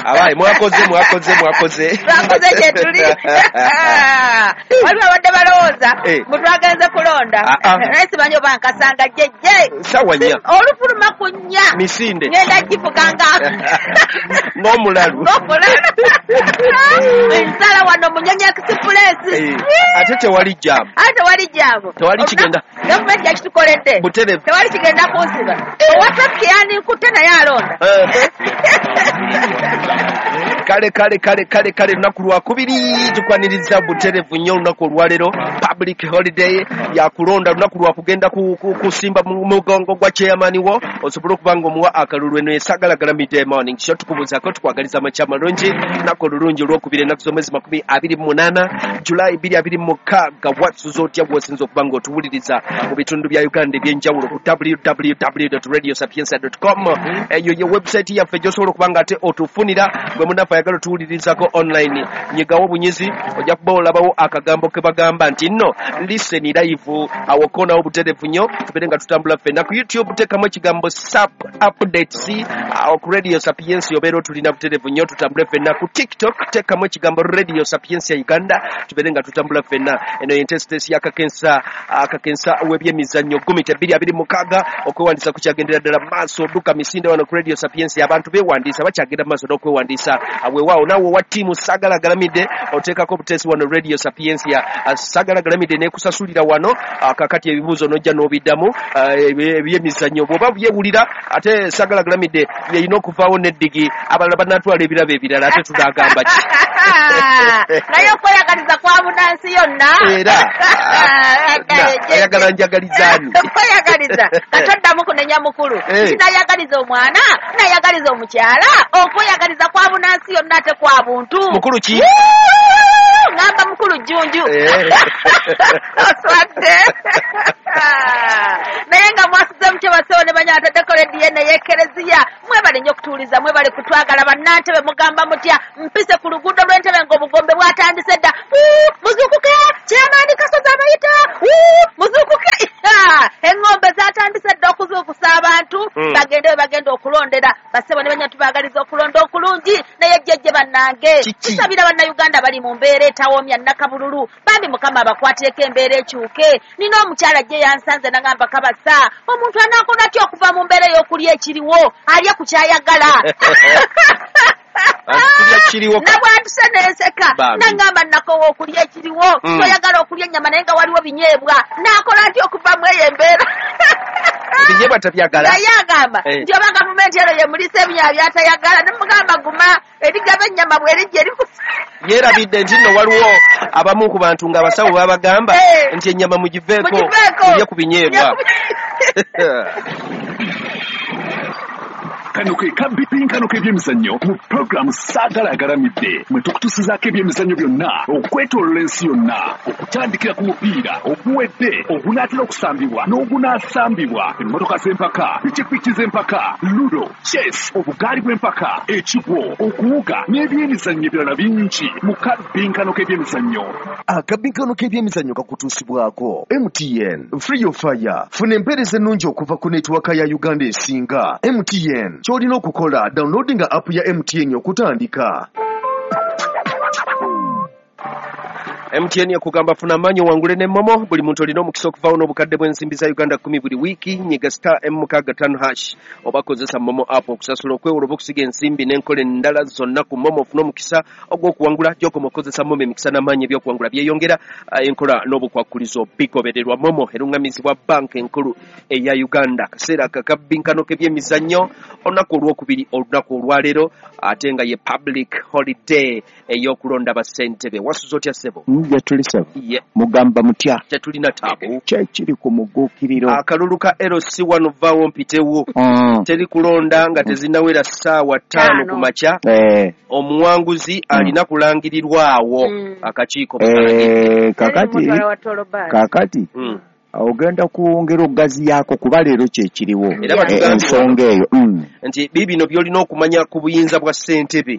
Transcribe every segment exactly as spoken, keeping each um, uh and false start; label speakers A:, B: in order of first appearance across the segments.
A: Abaye mwakoze mwakoze mwakoze
B: mwakoze kyetuli. Waliwo abadde balowooza mutwagenze kulonda, naye simanyi oba nkasanga jjejje
A: sawa nnya
B: olufuluma ku nnya
A: misinde
B: ngenda givuganga
A: n'omulalu
B: nsala wano Munyonyo Express.
A: Ate tewali jaamu,
B: ate tewali jaamu,
A: tewali kigenda,
B: gavumenti yakitukoledde tewali kigenda kunsiba. Owa traffic yandinkute naye alonda.
A: Kale kale kale kale kale, lunaku lwakubiri tukwaniriza buterevu nnyo olunaku olwaleero, public holiday ya kulonda, lunaku lwa kugenda kusimba mugongo gwa chairman wo osobole okuba nga omuwa akalulu. Eno esagalagalamidde morning show, tukubuuzaako tukwagaliza amakya amalungi, lunaku olulungi olwokubiri ennaku z'omwezi makumi abiri mu munaana Julai bbiri abiri mu mukaaga. Wasuza otya bw'osinza okuba nga otuwuliriza mu bitundu bya Uganda eby'enjawulo ku w w w dot radio sapientia dot com. Eyo ye website yaffe gy'osobola okuba nga ate otufunira bwe munaffe ayagala otuwulirizako online. Nyigawo obunyizi ojja kuba olabawo akagambo ke bagamba nti nno listen live, awo koonawo buterevu nnyo tubeere nga tutambula ffenna. Ku YouTube teekamu ekigambo sap updates, awo ku Radio Sapientia obeera otulina buterevu nnyo tutambule ffenna. Ku TikTok teekamu ekigambo Radio Sapientia Uganda tubeere nga tutambula ffenna. Eno ye ntesitesi y'akakensa akakensa w'ebyemizannyo gumita bbiri abiri mukaaga. Okwewandiisa kukyagendera ddala maaso, dduka misinde wano ku Radio Sapientia, abantu beewandiisa bakyagenda maaso n'okwewandiisa. Weewaawo naawe owa ttiimu Sagalagalamidde oteekako obuteesi wano Radio Sapientia, Sagalagalamidde n'ekusasulira wano. Kakati ebibuuzo n'ojja n'obiddamu ebyemizannyo bw'oba byewulira, ate Sagalagalamidde yeyina okuvaawo n'eddigi, abalala banaatwala ebirabo ebirala, ate tunaagamba ki?
B: Naye okweyagaliza kwa bunansi yonna.
A: Era ayagala njagalizaani
B: okweyagaliza katoddamu kunenya mukulu, kinayagaliza omwana, nayagaliza omukyala, okweyagaliza kwa bunansi yonna ate kwa buntu.
A: Mukulu ki?
B: Ngamba mukulu Jjunju. Oswadde. Naye nga mwasuze mutyo basewo ne banya ataddeko rediyo eno ey'Ekereziya. Mwebale nnyo okutuwuliza, mwebale kutwagala. Bannantebe mugamba mutya? Mpise ku luguudo lw'Entebe ng'obugombe bwatandise dda. Muzuukuke, chairman Kasozi abayita. Muzuukuke. Eŋŋombe zaatandise dda okuzuukusa abantu bagende we bagenda okulondera. Bassebo ne banya tubaagaliza okulonda okulungi. Naye jjejje bannange, tusabira Bannayuganda bali mu mbeera etawomya nnakabululu, bambi Mukama abakwatireko embeera ekyuke. Nina omukyala gye yansanze nagamba kabasa, omuntu anaakola atya okuva mu mbeera ey'okulya ekiriwo alye ku kyayagala? Nabwatuse nenseka nagamba nakowa okulya ekiriwo, toyagala okulya ennyama naye nga waliwo binyeebwa, naakola atya okuva mu eyo embeera?
A: Binyeebwa tabyagala.
B: Naye agamba nti oba gavumenti eno yemulisa ebinyeebwa byatayagala, nemugamba guma erigaba ennyama bwerijja erikusa.
A: Yeerabidde nti nno waliwo abamu ku bantu ng'abasawo babagamba nti ennyama mugiveeko mulye ku binyeebwa.
C: Kano ke kabbinkano k'ebyemizannyo mu pulogulaamu Sagalagalamidde, mwe tukutusizaako ebyemizannyo byonna okwetoolola ensi yonna, okutandikira ku mupiira oguwedde, ogunaatera okusambibwa n'ogunaasambibwa, emmotoka z'empaka, pikipiki z'empaka, ludo, chess, obugaali bw'empaka, ekigwo, okuwuga n'ebyemizannyo ebirala bingi mu kabbinkano k'ebyemizannyo.
D: Akabbinkano k'ebyemizannyo kakutuusibwako M T N Free Your Fire. Funa empeereza ennungi okuva ku netiwaka ya Uganda esinga M T N. Ky'olina okukola, downloadinga app ya M T N okutandika.
A: M T N ekugamba funa amaanyi owangule ne Momo. Buli muntu olina omukisa okuvaawo n'obukadde bw'ensimbi za Uganda kkumi buli wiiki. Nyiga star M mukaaga ttaano hash oba kozesa Momo app okusasula, okwewula oba okusiga ensimbi n'enkola endala zonna ku Momo ofune omukisa ogw'okuwangula. Gy'okoma okukozesa Momo, emikisa n'amaanyi eby'okuwangula byeyongera, enkola n'obukwakkulizo bigobererwa. Momo erungamizibwa banka enkulu eya Uganda. Akaseera akakabbinkano k'ebyemizannyo olunaku olwokubiri, olunaku olwaleero, ate nga ye public holiday ey'okulonda bassentebe. Wasuza otya ssebo?
E: Tetulisa mugamba mutya?
A: Tetulina taabu.
E: Kyekiri ku muguukiriro.
A: Akalulu ka L C one vaawo mpitewo. Teri kulonda nga tezinnawera ssaawa ttaano ku makya. Omuwanguzi alina kulangirirwawo akakiiko.
E: Kakati kakati ogenda kwongera okugaziyaako kuba leero kyekiriwo ensonga eyo
A: nti bibino by'olina okumanya ku buyinza bwa ssentebe.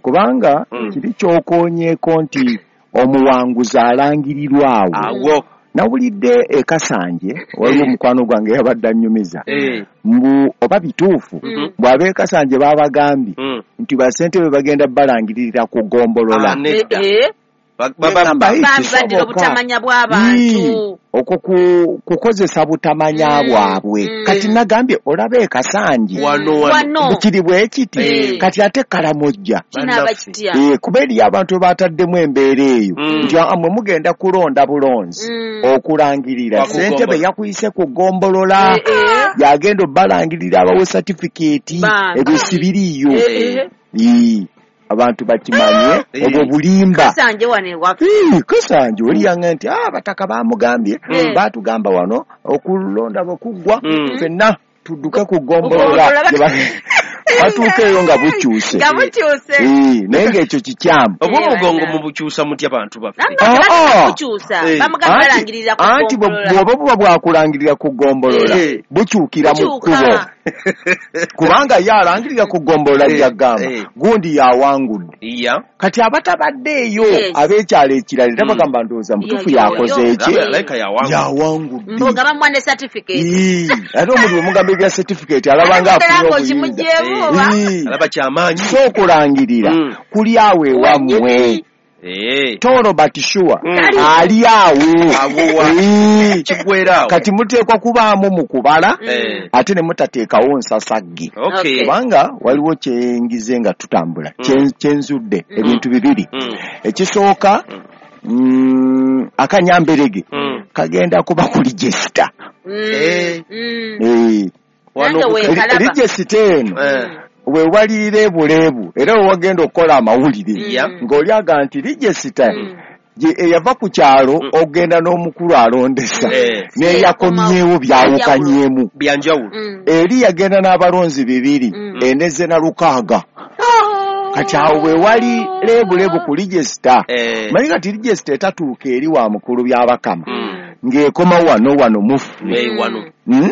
E: Kubanga kiri kyokoonyeeko nti omuwanguzi alangirirwawo awo, Nawulidde e Kasanje waliwo omukwano gwange yabadde annyumiza
A: Eh.
E: mbu oba bituufu
A: Mhm.
E: bw'ab'e Kasanje baabagambye
A: Mm.
E: nti basentebe bagenda balangiririra ku ggombolola.
A: Ah, nedda.
B: Eh, eh.
A: Ba- ba- ba-
E: Bagamba, "Hey,
B: Bambi baddira
E: kisoboka."
B: obutamanya bw'abantu.
E: Ii, okwo ku- kukozesa butamanya
B: Mm,
E: bwabwe.
B: mm.
E: Kati nagambye olaba e Kasanje
A: Wano wano.
B: Wano.
E: bukiri bwe kiti
B: Eh.
E: kati ate Kalamojja
B: Kinaaba
A: Bannaffe.
B: kitya?
E: Eh, kuba eriyo abantu bataddemu embeera eyo
A: Mm.
E: nti "Ah, mwe mugenda kulonda bulonzi
B: Mm.
E: okulangirira
A: Wa ku
E: ssentebe
A: ggombolola.
E: yakuyise ku ggombolola
B: Eh, eh.
E: yagenda obbalangirira abawe satifikeeti
B: Bambi.
E: ebyo sibiriiyo
B: Eh, eh.
E: Ii, abantu bakimanye
A: Eh.
E: obwo bulimba.
B: Kasanje wano ewaffe.
E: Ii, Kasanje oli yanga nti "Ah, abataka bamugambye
B: Mm.
E: baatugamba wano okulonda bwe kuggwa
A: Mm.
E: ffenna tudduke ku ggombolola."
B: Ggombolola.
E: Gye ba- batuuka eyo nga bukyuse.
B: Nga bukyuse.
E: Ii, naye ng'ekyo kikyamu.
A: Oba
B: Eh,
A: omugongo
B: bana.
A: mubukyusa mutya bantu baffe?
B: Namwe
E: Ah,
B: tebagenda
E: ah.
B: kukyusa.
A: Eh.
B: Bamugamba
E: Anti-
B: balangirira ku
E: anti bwe-
B: ggombolola.
E: bw'oba buba bwakulangirira ku ggombolola
A: Eh.
E: bukyukira mu
B: Bukyuka.
E: kkubo kubanga ye alangirira ku ggombolola
A: Eh,
E: gy'agamba
A: eh.
E: gundi yawangudde.
A: Iya.
E: Kati abatabadde eyo
B: Yes.
E: ab'ekyalo ekirala era
A: Mm.
E: bagamba ndowooza mutuufu
B: Yo, yo,
E: yakoze
B: yo.
E: eki
B: Eh.
A: Alabika yawangudde.
E: yawangudde.
B: Mbu nga bamuwa ne certificate.
E: Ii, ate omuntu bwemugamba ebya certificate alaba nga
B: Ate
E: afunye
B: nga
E: obuyinza.
B: okimugyeemu oba?
E: Ii,
A: Alaba kyamaanyi.
E: so okulangirira
A: Mm.
E: kuli awo ewammwe.
A: Eh.
E: Toro but sure
A: Mm.
E: ali awo.
A: Awo wa.
E: Ii,
A: Kiggwera awo.
E: kati muteekwa kubaamu mu kubala
B: Mm.
A: Eh.
E: ate ne mutateekawo nsasagge.
A: Okay.
B: Okay.
E: Kubanga waliwo kyengize nga tutambula
A: Mm.
E: kye- kyenzudde
B: Mm.
E: ebintu bibiri.
A: Mm.
E: Ekisooka mm, akanyamberege
A: Mm.
E: kagenda kuba ku register.
B: Mm.
A: Eh.
B: Mm.
E: Eh,
A: Wano
B: Nange
A: ku-
B: weekalaba.
E: register eno
A: Eh.
E: we walirira ebuleebu era we wagenda okukola amawulire
A: Yeah.
B: Mm.
E: ng'oli aga nti register
B: Mm.
E: gye eyava ku kyalo
A: Mm.
E: ogenda n'omukulu alondesa
A: Eh.
E: n'eyakomyewo byawukanyemu.
A: Byanjawulo.
B: Mm.
E: Eri yagenda n'abalonzi bibiri
B: Mm.
E: eneze na lukaaga. Kati awo we wali leebuleebu ku register.
A: Eh.
E: Manyi kati register etatuuka eri wa mukulu byabakama
A: Mm.
E: ng'ekoma wano wano mufu.
A: Eh, wano.
E: Mm?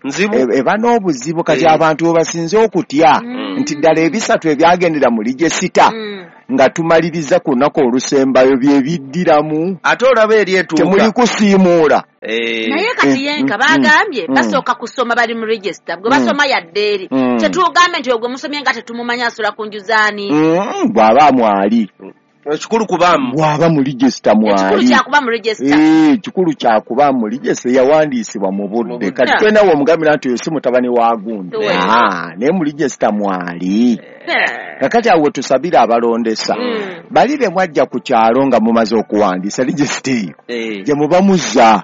A: Nzibu.
E: E- eba n'obuzibu kati
A: Eh.
E: abantu we basinze okutya
B: Mm.
E: nti ddala ebisatu ebyagendera mu register
B: Mm.
E: nga tumaliriza ku lunaku olusembayo bye biddiramu.
A: Ate olaba eri etuuka.
E: Temuli kusiimuula.
A: Eh.
B: Naye kati
E: Eh,
B: yenka
E: mm,
B: bagambye
E: mm.
B: basooka kusoma bali mu register bwe
E: Mm.
B: basoma yadde eri
E: Mm.
B: tetugambe nti ogwe musomye nga tetumumanyi asula ku nju zaani.
E: Mm, bw'aba mwali
A: Ekikulu kubaamu.
E: bw'aba mu register
B: Ekikulu
E: mwali.
B: kyakuba mu register.
E: Eh, ekikulu kyakuba mu register yawandiisibwa mu budde.
A: Mu budde.
E: Kati tolina w'omugambira nti oyo si mutabani wa gundi.
B: We.
E: Ah, naye mu register mwali.
B: Eh.
E: Kakati awo tusabire abalondesa
B: Mm.
E: bali be mwajja ku kyalo nga mumaze okuwandiisa register eyo
A: Eh.
E: gye muba muzza.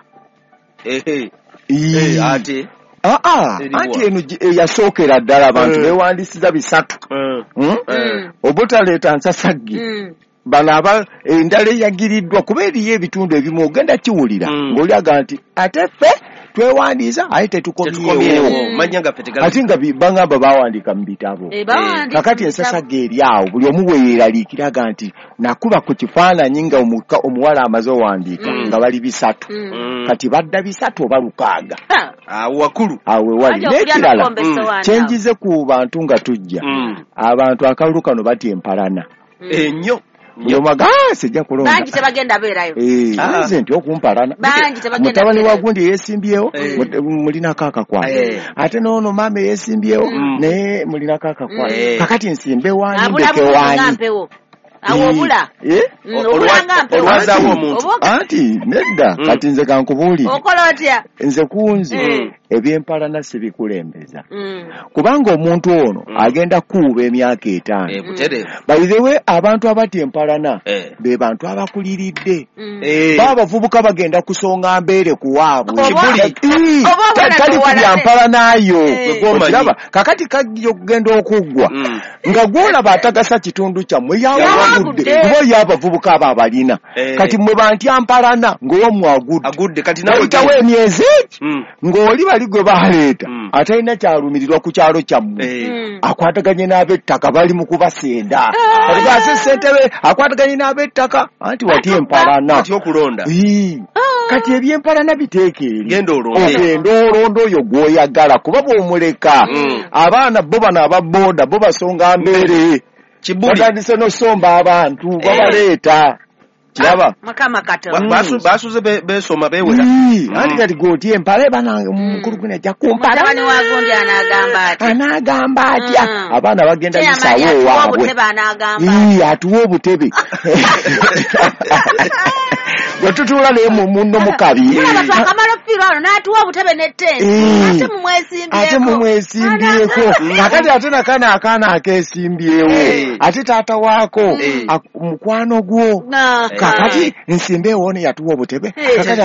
A: Eh. Eh.
E: Ii.
A: Ate.
E: Ah, ah,
A: Eriwa.
E: anti eno gye- eyasookera ddala abantu
A: Eh.
E: beewandiisiza bisatu.
A: Eh.
E: Mm?
B: Mm.
E: Obutaleeta nsasagge
B: Mm.
E: bano aba endala eyagiriddwa kuba eriyo ebitundu ebimu ogenda kiwulira
A: Mm.
E: ng'oli agamba nti ate ffe twewandiisa aye tetukomyewo.
A: Tetukomyewo. Mannya gaffe tegali.
E: Ate nga bi- bagamba bawandiika mu bitabo.
B: Eh, bawandiika
E: Kakati
B: mu
E: ensasagge eri awo buli omu we yeeraliikira aga nti nakuba ku kifaananyi nga omuka- omuwala amaze owandiika
A: Mm.
E: nga bali bisatu.
B: Mm.
A: Mm.
E: Kati badda bisatu oba lukaaga
B: Ha.
A: Awo wakulu.
E: awo we wali.
B: Anti okulya
E: N'ekirala
B: n'okukomba
A: Mm.
B: essowaani awo.
E: kyenjize ku bantu nga tujja
A: Mm.
E: abantu akalulu kano batya empalana.
B: Mm.
A: Ennyo.
E: Buli omu aga "Ah, sijja kulonda."
B: Bangi tebagenda beerayo.
E: Eh,
A: Ah.
E: nze nti okumpalana.
B: Bangi tebagenda
E: Mutabani wa
B: beerayo.
E: gundi yeesimbyewo
A: Eh.
E: mut- mulinako akakwano.
A: Eh.
E: Ate n'ono maama eyeesimbyewo
A: Mm.
E: naye mulinako akakwano.
A: Eh.
E: Kakati nsimbe waani
B: Abula
E: ndeke
B: bulungi nga
E: waani.
B: mpewo. Awo obula.
E: Eh?
B: Mm,
A: Olwa-
B: obula nga mpewo.
A: olwazaawo omuntu.
B: Oba
E: Anti nedda
A: Mm.
E: kati nze kankubuulire
B: okola otya?
E: nze kunze
B: Mm.
E: ebyempalana sibikulembeza
B: Mm.
E: kubanga omuntu ono
A: Mm.
E: agenda kukuuba emyaka etaano.
A: Eh, butereevu.
E: By the way abantu abatya empalana
A: Eh.
E: be bantu abakuliridde.
B: Mm.
A: Eh.
E: Ba abavubuka bagenda kusonga mbeere ku waabwe.
B: Oba-
A: Kibuli.
E: Ii,
B: Oba
E: ta-
B: obona
E: tali ku
B: tewalane.
E: byampalanayo.
B: Eh.
E: Okiraba kakati kajja okugenda okuggwa
A: Mm.
E: nga gw'olaba atagasa kitundu kyammwe yawangudde
B: Yawangudde.
E: kuba oyo abavubuka abo abalina.
A: Eh.
E: Kati mmwe bantya mpalana ng'owammwe agudde.
A: Agudde kati nawe
E: Wayitawo emyezi egi
A: Mm.
E: ng'oli bali gwe baleeta
A: Mm.
E: atalina kyalumirirwa ku kyalo kyammwe.
A: Eh.
B: Mm.
E: Akwataganye n'ab'ettaka bali mu kubasenda. Kati ase ssentebe akwataganye n'ab'ettaka anti watya empalana.
A: Atya okulonda.
E: Ii. Kati ebyempalana biteeka eri.
A: Genda olonde.
E: Ogenda olonda oyo gw'oyagala kuba bw'omuleka
A: Mm.
E: abaana bo bano aba booda bo basonga mbeere.
A: Kibuli.
E: Batandise n'osomba abantu babaleeta. Kiraba
B: Mukama Katonda.
A: Basuze besoma bewera.
E: Anti kati goti empale banange mukulu gwe ajja kumpala.
B: Mutabani wa gundi anagamba atya.
E: Anagamba atya. Abaana bagenda yisawo waabwe.
B: Anagamba.
E: Atuwa obutebe. Bwe tutuula naye munno mu kabi.
B: Mulaba twakamala okufiirwa wano n'atuwa obutebe ne ttenti. Ate mumwesimbyeko.
E: Ate mumwesimbyeko. Kakati ate nakano akaana akeesimbyewo. Ate taata waako mukwano gwo. Kakati nsimbeewo ono yatuwa obutebe. Kakati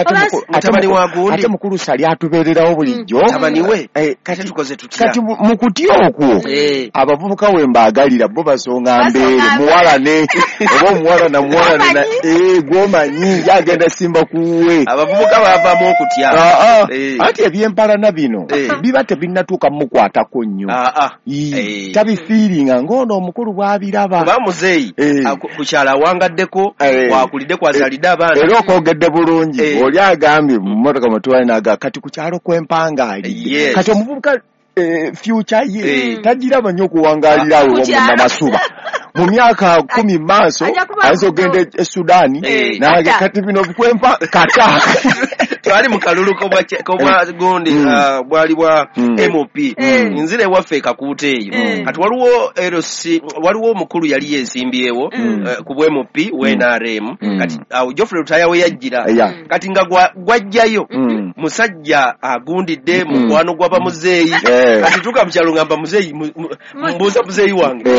E: ate mukulu Sali atubeererawo bulijjo.
A: Mutabani we. Kati tukoze tutya?
E: Kati mu kutya okwo abavubuka we mbaagalira bo basonga mbeere muwalane oba omuwala na muwalane gw'omanyi agenda simba kuwe.
A: Abavubuka bavaamu okutya.
E: Anti ebyempalana bino biba tebinnatuuka mukwatako nnyo. Tabifiiringa ng'ono omukulu bw'abiraba.
A: Kuba muzeeyi ku kyalo awangaddeko wakulidde kwazaalidde abaana.
E: Era okwogedde bulungi oli agambye mu mmotoka mwe tuwali n'agamba kati ku kyalo kwempangaalidde. Kati omuvubuka future ye tagiraba nnyo okuwangaalira awo Namasuba. Mu myaka kumi maaso ayinza okugenda e Sudaani nange kati bino bikwempa kata.
A: Twali mu kalulu k'obwa gundi bwali bwa M P nzira ewaffe Kakuuta eyo. Kati waliwo L C waliwo omukulu yali yeesimbyewo ku bwa M P wa N R M kati awo Geoffrey Lutaaya we yajjira kati nga gwajjayo musajja agundidde mukwano gw'abamuzeeyi. Kati tuuka mu kyalo ngamba muzeeyi mbuuza muzeeyi wange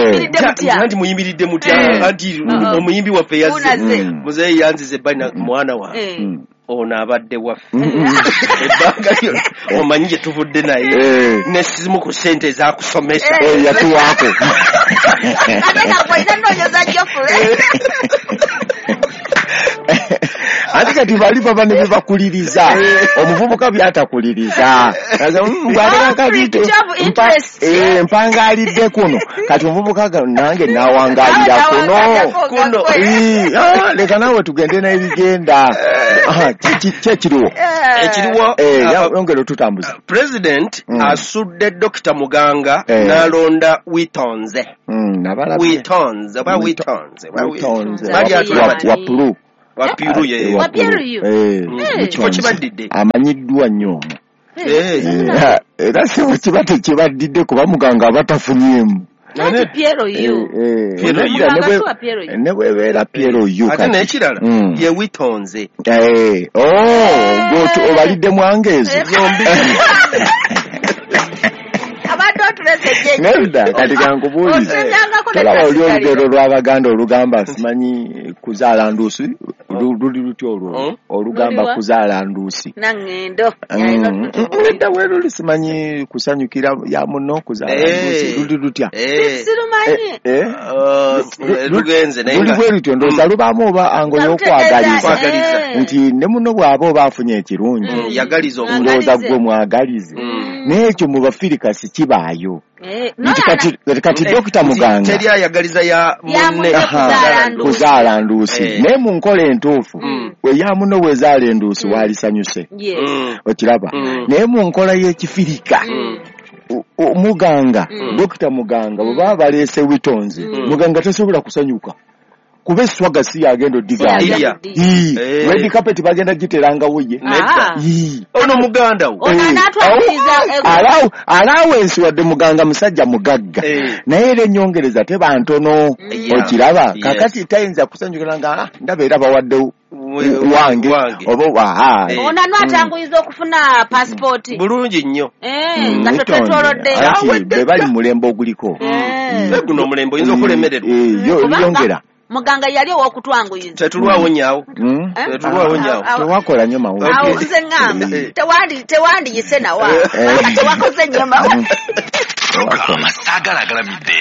A: anti muyimiridde mutya anti omuyimbi waffe yazze muzeeyi yanzize ebbali na mwana wange ono abadde waffe ebbanga lyonna omanyi gye tuvudde naye nesizimu ku ssente ezakusomesa
E: yatuwaako.
B: Ate nga gw'olina nnoonyeza Geoffrey.
E: Ate kati bali baba ne bebakuliriza omuvubuka byatakuliriza mpangaalidde kuno kati omuvubuka nange nawangaalira kuno leka naawe tugende n'ebigenda. Ki ekiriwo
A: ekiriwo
E: yongera otutambuza.
A: President asudde Dokita Muganga n'alonda Witonze. Witonze oba Witonze
E: Wapulu
A: Wapiru ye
B: Wapiru yu
A: kifo kibaddidde
E: amanyiddwa nnyo era si kiba tekibaddidde kuba Muganga aba tafunyeemu.
B: Piero yu
E: ne bwebeera Piero yu
A: ate n'ekirala ye Witonze
E: obalidde mwangeezo
A: zombi.
E: Nedda kati kankubuulize tolaba oli olugero lw'Abaganda olugamba simanyi kuzaala nduusi luli lutya olwo olugamba kuzaala nduusi nedda bwe luli simanyi kusanyukira ya muno kuzaala nduusi luli lutya luli bwe lutyo ndowooza lubaamu oba ango y'okwagaliza nti ne muno bw'aba oba afunye ekirungi ndowooza gwe mwagalize naye ekyo mu Bafirika si kibaayo. Nti kati Dokita Muganga
A: teri ayagaliza ya munne
E: kuzaala nduusi naye mu nkola entuufu eya munno bw'ezaala enduusi waalisanyuse okiraba naye mu nkola y'Ekifirika Muganga Dokita Muganga bwe baba baleese Witonze Muganga tasobola kusanyuka kuba eswaga si yagenda oddigaaya. Red carpet bagenda giterangawo ye
A: ono muganda wo
E: allowance wadde Muganga musajja mugagga naye era ennyongereza teba ntono okiraba kakati tayinza kusanyukira nga ndaba era bawadde wange oba aha
B: ono anatanguyiza okufuna passport
A: bulungi nnyo
B: nga tetwetolodde
E: be bali mu mulembe oguliko
A: guno omulembe oyinza okulemererwa
E: yongera
B: Muganga yali ow'okutwanguyiza.
A: Tetulwawo nnyawo. Tetulwawo nnyawo.
E: Tewakola nnyo mawulire.
B: Awo nze ŋŋamba tewandi tewandiyise nawa. Tewakoze nnyo mawulire.
C: Program Saagala Agalamidde.